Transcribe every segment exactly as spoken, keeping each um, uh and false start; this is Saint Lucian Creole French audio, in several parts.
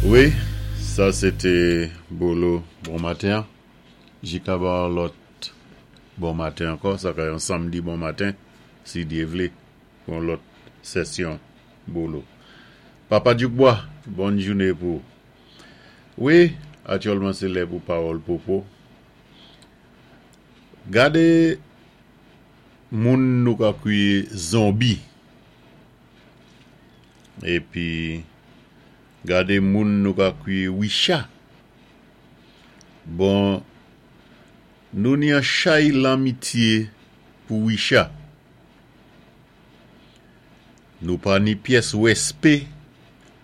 Wi, sa sé té Bolo bon maten. Ji ka ba lòt bon maten ankò, sa ka yon sanmdi bon maten, si Dye vlé, pou yon lòt sesyon Bolo. Papa Djoukbois, bòn jouné pou ou. Wi, aktyèlman sé lè pou pawòl popo. Gadé moun nou ka kwiyé zonbi. Épi gadé moun nou ka kwiyé wicha. Bon, nou ni an chay lanmityé pou wicha. Nou pa ni pyès wèspé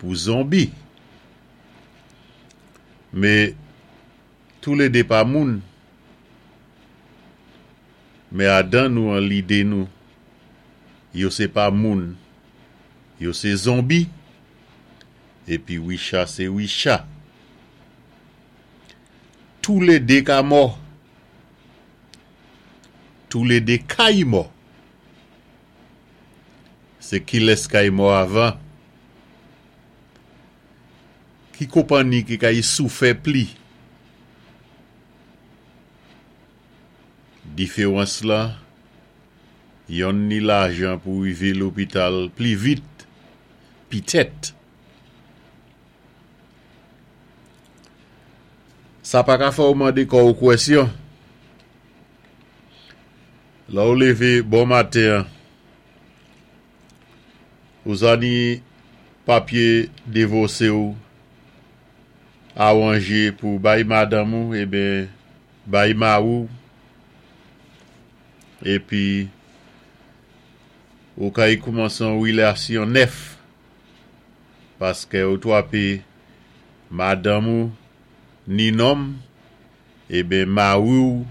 pou zonbi. Mé toulédé pa moun. Mé adan nou an lidé nou, yo sé pa moun, yo sé zonbi, épi wicha sé wicha. Toulédé ka mò. Toulédé kay mò. Sé kilès kay mò avan? Ki konpanni ki kay soufè pli? Diféwans la, yonn ni lajan pou wivé lopital pli vit, pitèt. Sa pa ka fè ou mandé kò ou kwèsyon. Lè ou lévé bon maten, ou sa ni papyé divòsé ou awanjé pou bay madanm ou, eben bay mari ou, épi ou kay koumansé yon wilasyon nèf, paské ou twapé madanm ou ni nonm, eben mari ou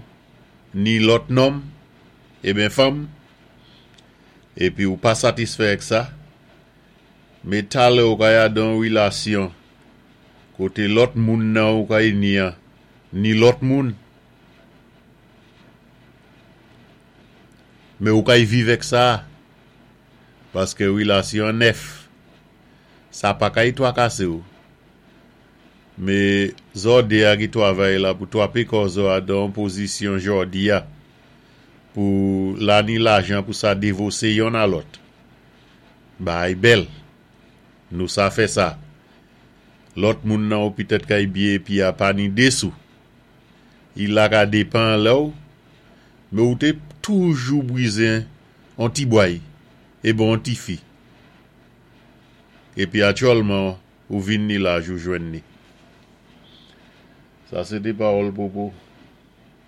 ni lòt nonm, eben fanm, épi ou pa satisfè ak sa, mé talè ou kay adan wilasyon, koté lòt moun nan ou kay ni an, ni lòt moun. Mé ou kay viv ak sa, paské wilasyon nèf, sa pa kay twakasé ou. Mé zòdé a ki twavay la pou twapé kò zò adan pozisyon jòdi a, pou la ni lajan pou sa divòsé yonn a lòt. Bagay bèl, nou sa fè sa. Lòt moun nan ou pitèt kay biyé épi a pa ni dé sou. I la ka dépan lè ou, mé ou té toujou bwizen an ti bway, eben an ti fi. Épi aktyèlman, ou vin ni laj ou jwenn ni. Sa sé té pawòl popo.